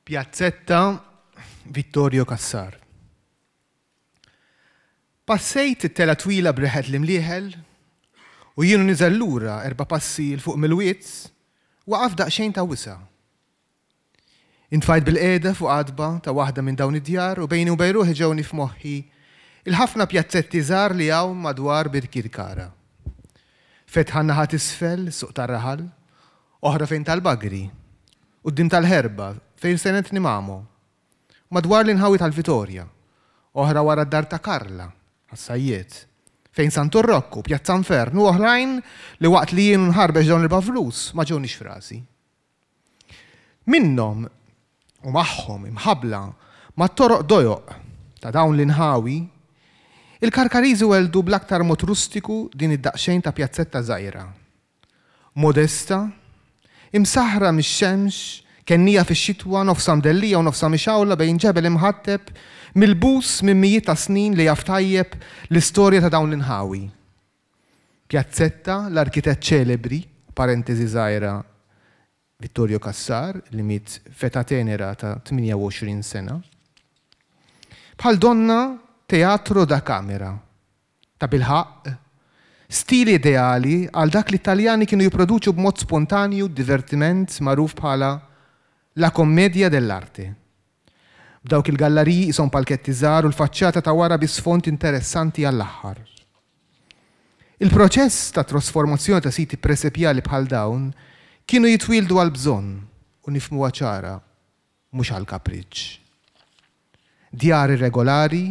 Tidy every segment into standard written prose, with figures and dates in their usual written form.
Piazzetta Vittorio Cassar. Passejt it-tela twila b'riħet l-imlieħel u jien u niżel lura erba' passi 'l fuq mill-wied, waqaf daqsxejn ta' wisa'. Intfajt bilqiegħda fuq għatba ta' waħda minn dawn id-djar u bejni u bejn ruħi ġewni f'moħħi l-ħafna pjazzetti żgħar li hawn madwar Birkirkara. Fetħa n-naħa t'isfel, suq tar-raħal, oħra fejn tal-Bagri, quddiem tal-Ħerba, fejn senetni Mamo, madwar l-inħawi tal-Vitorja, oħra wara d-dar ta' Karla, għas-Sajjied, fejn Santu Rokku, Pjazza Nfern u oħrajn li waqt li jien u nħarbex dawn il-bavlus ma ġewniex f'rasi. Minnhom u magħhom imħabbla mat-toroq dojoq ta' dawn l-inħawi, il-Karkariżi welldu bl-aktar mod rustiku din id-daqsxejn ta' pjazzetta żgħira. Modesta, imsaħħra mix-xemx, kennija fix-xitwa, nofsha mdellija u nofsha mixgħula bejn ġebel imħatteb milbus minn mijiet ta' snin li jaf tajjeb l-istorja ta' dawn l-inħawi. Piazzetta, l-arkitett ċelebri, parentesi żgħira, Vittorio Cassar, li miet f'età tenera ta' 28 sena. Bħal donna teatro da camera. Tabilħaqq, stil ideali għal dak li t-Taljani kienu jipproduċu b'mod spontanju divertiment magħruf bħala la commedia dell'arte. B'dawk il-gallariji qishom palketti żgħar u l-faċċata ta' wara bi sfond interessanti għall-aħħar. Il-proċess ta' trasformazzjoni ta' siti presepjali bħal dawn kienu jitwieldu għall-bżonn u nifhmuha ċara, mhux għall-kapriċċ. Djar irregolari,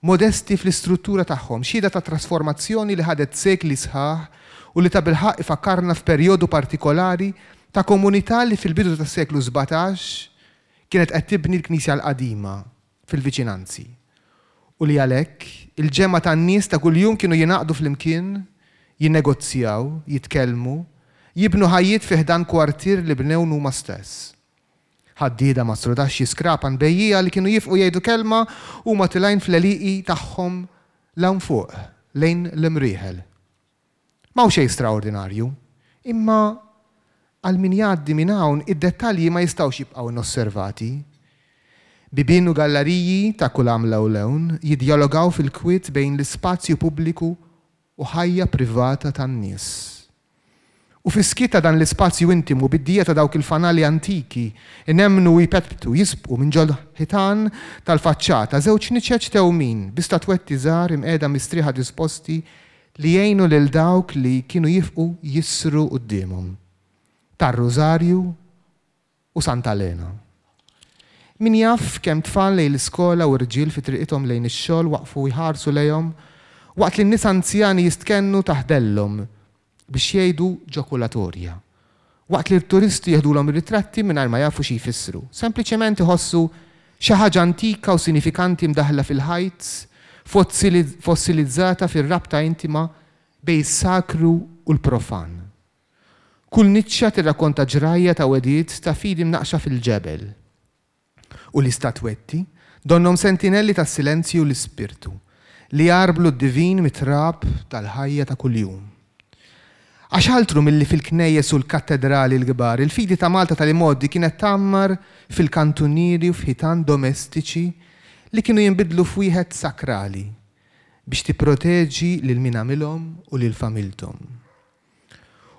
modesti fl-istruttura tagħhom, xhieda ta' trasformazzjoni li ħadet sekli sħaħ u li tabilħaqq ifakkarna f'perjodu partikolari ta' komunità li fil-bidu tas-seklu 17 kienet qed tibni l-knisja l-qadima fil-viċinanzi u li għalhekk il-ġemgħa tan-nies ta' kuljum kienu jingħaqdu flimkien, jinnegozjaw, jitkellmu, jibnu ħajjiet fi ħdan kwartier li bnew huma stess. Ħaddieda mastrudaxxi skrapan bejjiegħa li kienu jifqu jgħidu kelma huma tilgħin fl-għelieqi tagħhom 'l hawn fuq, lejn l-Imrieħel. M'hawn xejn straordinarju, imma għal min jgħaddi minn hawn id-dettalji ma jistgħux jibqgħu inosservati. Bibien u gallariji ta' kull għamla u lewn jiddjalogaw fil-kwiet bejn l-ispazju pubbliku u ħajja privata tan-nies. U fis-skiet ta' dan l-ispazju intimu bid-dija ta' dawk il-fanali antiki inemmnu u jpetptu, jisbqu minn ġol-ħitan tal-faċċata żewġ niċeċ tewmin bi statwetti żgħar imqiegħda mistrieħa disposti li jgħinu lil dawk li kienu jifqu jissru quddiemhom. Tar-Rużarju u Santa Lena. Min jaf kemm tfal lejn l-iskola u rġiel fi triqithom lejn ix-xogħol waqfu jħarsu lejhom waqt li n-nisa anzjani jistkennu taħt dellhom biex jgħidu ġokulatorja. Waqt li t-turisti jeħdulhom ir-ritratti mingħajr ma jafu xi jfissru. Sempliċement iħossu xi ħaġa antika u sinifikanti mdaħħla fil-ħajt, fossilizzata fir-rabta intima bejn is-sakru u l-profan. Kull niċċa tirrakkonta ġrajja ta' wegħdiet ta' fidi mnaqqxa fil-ġebel. U l-istatwetti, donnhom sentinelli tas-silenzju u l-ispirtu, li jgħarblu d-divin mit-trab tal-ħajja ta' kuljum. Għax altru milli fil-knejjes u l-kattedrali l-kbar, il-fidi ta' Malta tal-imgħoddi kienet tgħammar fil-kantunieri u f'ħitan domestiċi li kienu jinbidlu f'wieħed sakrali biex tipproteġi lil min għamilhom u lil familthom.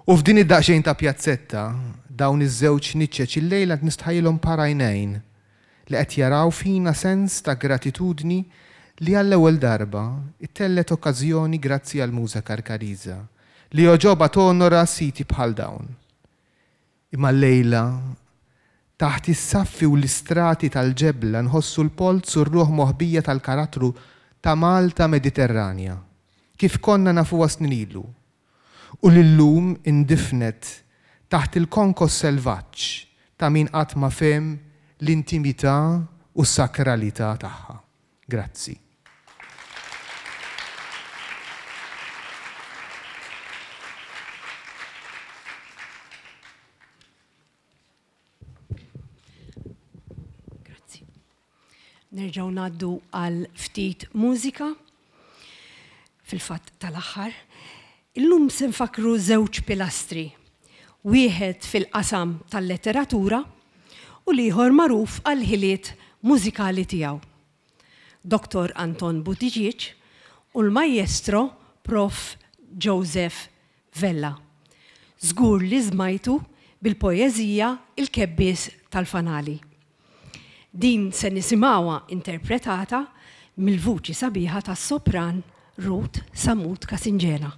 U f'din id-daqsxejn ta' pjazzetta, dawn iż-żewġ niċċeċ illejla nistħajjilhom par għajnejn li qed jaraw fina sens ta' gratitudni li għall-ewwel darba ttellgħet okkażjoni grazzi għall-Muża Karkariża li għoġobha tonora siti bħal dawn. Imma llejla, taħt is-saffi u l-istrati tal-ġebla nħossu l-polz u r-ruħ moħbija tal-karattru ta' Malta Mediterranja, kif konna nafuha snin ilu, u li llum indifnet taħt il-konkos selvaġġ ta' min qatt ma fehem l-intimità u s-sakralità tagħha. Grazzi. Grazzi. Nerġgħu ngħaddu għal ftit mużika fil-fatt tal-aħħar. Illum se nfakru żewġ pilastri. Wieħed fil-qasam tal-letteratura. u l-ieħor magħruf għall-ħiliet mużikali tiegħu. Dottor Anton Buttigieg u l-Maestro Prof. Joseph Vella. Żgur li smajtu bil-poeżija Il-Kebbies tal-Fanali. Din se nisimgħuha interpretata mill-vuċi sabiħa tas-sopran Ruth Sammut Casingena.